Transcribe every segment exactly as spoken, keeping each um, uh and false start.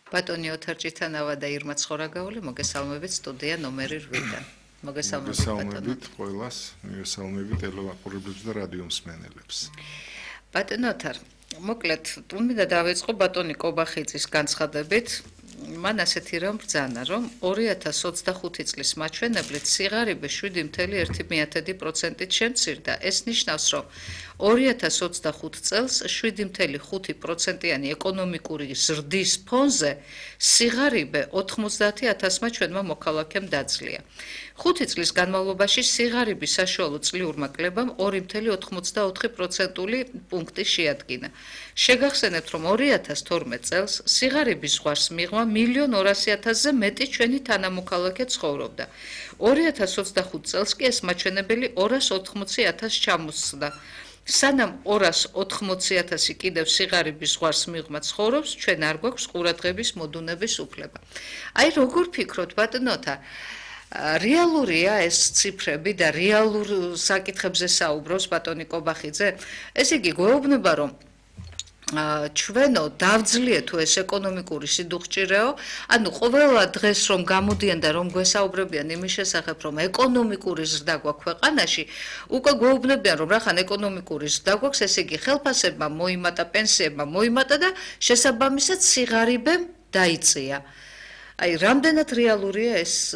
ბატონი ოთარჭითანავა და ირმა ცხორაგაული მოგესალმებით სტუდია ნომერი რვიდან. მოგესალმებით ყველას, მოგესალმებით ტელევაყურებლებს და რადიო მსმენელებს. ბატონო ოთარ, მოკლედ, მინდა დავიწყო ბატონი კობახიძის განცხადებით. მან ასეთი რამ ბრძანა, რომ ორი ათას ოცდახუთი წლის მაჩვენებლით სიღარიბე შვიდი ფاصლე ერთი პროცენტით შემცირდა. ეს ნიშნავს, რომ ორი ათას ოცდახუთი წელს შვიდი ფاصლე ხუთი პროცენტიანი ეკონომიკური ზრდის ფონზე სიღარიბე ოთხმოცდაათი ათასმა ჩვენმა მოქალაქემ დაძლია. ხუთი წლის განმავლობაში სიღარიბის საშუალო წლიურმა კლებამ ორი ფاصლე ოთხმოცდაოთხი პროცენტული პუნქტი შეადგინა. შეგახსენებთ, რომ ორი ათას თორმეტ წელს სიღარიბის ზღვარს მიღმა მილიონ ორასი ათასზე მეტი ჩვენი თანამოქალაქე ცხოვრობდა. ორი ათას ოცდახუთი წელს კი ეს მაჩვენებელი ორას ოთხმოცი ათასს ჩამოსცდა. სანამ ორას ოთხმოცი ათასი კიდევ სიღარიბის ზღვარს მიღმა ცხოვრობს, ჩვენ არ გვაქვს ყურადღების მოდუნების უფლება. აი როგორ ფიქრობთ ბატონოთა, რეალურია ეს ციფრები და რეალურ საკითხებზე საუბრობს ბატონი კობახიძე? ესე იგი გვეუბნება, რომ ჩვენო დავძლიეთ თუ ეს ეკონომიკური სიდუხჭირეო, ანუ ყველა დღეს რომ გამოდიან და რომ გვესაუბრებიან იმის შესახებ, რომ ეკონომიკური ზრდა გვაქვს ქვეყანაში, უკვე გვეუბნებიან, რომ რახან ეკონომიკური ზრდა გვაქვს, ესე იგი ხელფასებმა მოიმატა, პენსიებმა მოიმატა და შესაბამისად სიღარიბემ დაიწია. აი, რამდენად რეალურია ეს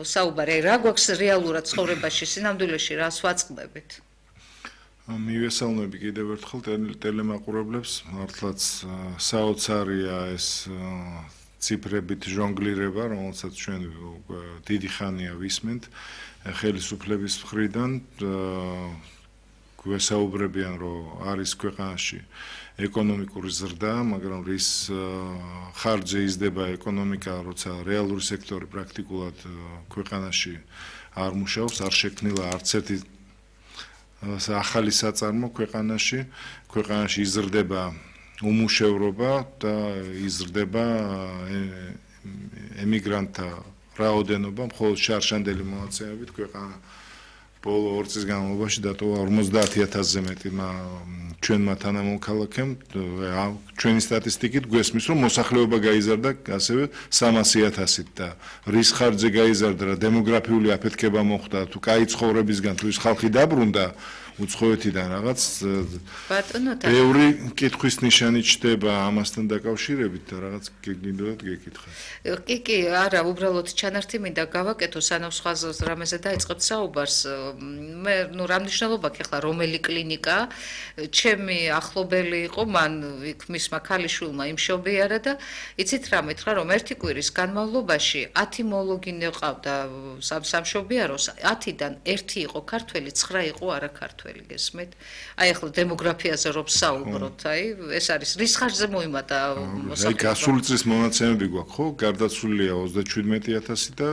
საუბარი? აი, რა გვაქვს რეალურად ცხოვრებაში, სინამდვილეში რას ვაწყდებით? მივესალმები კიდევ ერთხელ ტელემაყურებლებს, მართლაც საოცარია ეს ციფრებით ჟონგლირება, რომელსაც ჩვენ დიდი ხანია ვისმენთ ხელისუფლების მხრიდან. გვესაუბრებიან, რომ არის ქვეყანაში ეკონომიკური ზრდა, მაგრამ რის ხარჯზე იზრდება ეკონომიკა, როცა რეალური სექტორი პრაქტიკულად ქვეყანაში არ მუშაობს, არ შექმნილა არც ერთი ახალი საწარმო ქვეყანაში, ქვეყანაში იზრდება უმუშევრობა და იზრდება ემიგრანტთა რაოდენობა, მხოლოდ შარშანდელი მონაცემებით ქვეყანა ბოლო ორ წლის განმავლობაში დატოვა ორმოცდაათი ათასზე მეტი ჩვენმა თანამოქალაქემ. ჩვენი სტატისტიკით გვესმის, რომ მოსახლეობა გაიზარდა ასევე სამასი ათასით და რის ხარჯზე გაიზარდა და დემოგრაფიული აფეთქება მოხდა, თუ კაი ცხოვრებისგან თუ ის ხალხი დაბრუნდა უცხოეთიდან რაღაც ბევრი კითხვის ნიშანი ჩდება ამასთან დაკავშირებით და რაღაც გეგმით გეკითხათ. კი, კი, არა, უბრალოდ ჩანართი მინდა გავაკეთო, სანამ სხვა რამეზე დაიწყებთ საუბარს. მე ნუ რა მნიშვნელობა აქვს ახლა რომელი კლინიკა? ჩემი ახლობელი იყო, მან იქ მისმა ქალიშვილმა იმშობიარა და იცით რა მითხრა, რომ ერთი კვირის განმავლობაში ათი მოლოგინე ყავდა სამშობიაროს, ათიდან ერთი იყო ქართველი, ცხრა იყო არაქართველი. გესმით? აი ახლა დემოგრაფიაზე რომ საუბრობთ, აი ეს არის რის ხარჯზე მოიმატა მოსახლეობა. აი გასული წლის მონაცემები გვაქვს, ხო? გარდაცვლილია ოცდაჩვიდმეტი ათასი და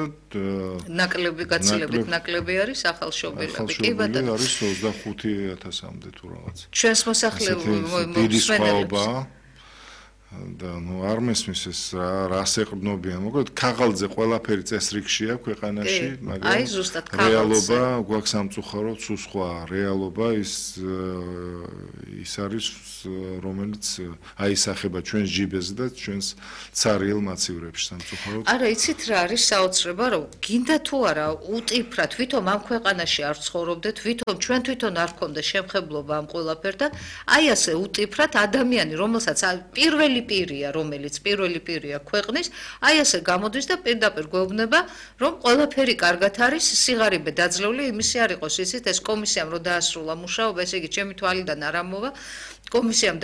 ნაკლები გაცილებით ნაკლები არის ახალშობილები. კი ბატონო, არის ოცდახუთი ათასამდე თუ რაღაც. ჩვენს მოსახლეობა დიდი სხვაობა და ნუ არ მესმის ეს რას ეყრდნობიან. მოკლედ ქაღალდზე ყველაფერი წესრიგშია ქვეყანაში, მაგრამ აი ზუსტად რეალობა გვაქვს სამწუხაროდ სულ სხვა. რეალობა ის ის არის, რომელიც აისახება ჩვენს ჯიბეზე და ჩვენს ცარიელ მაცივრებში სამწუხაროდ. არა, იცით რა არის საოცრება, რომ გინდა თუ არა უტიფრად თვითონ ამ ქვეყანაში არ ცხოვრობდეთ, თვითონ ჩვენ თვითონ არ გქონდა შემხებლობა ამ ყველაფერთან, აი ასე უტიფრად ადამიანი, რომელსაც პირველი პირია, რომელიც პირველი პირია ქვეყნის, აი ასე გამოდის და პირდაპირ გვეუბნება, რომ ყველაფერი კარგად არის, სიღარიბე დაძლეული, იმისი არ იყოს, იცით, ეს კომისიამ რო დაასრულა მუშაობა, ესე იგი ჩემი თვალიდან არ ამოვა, კომისიამ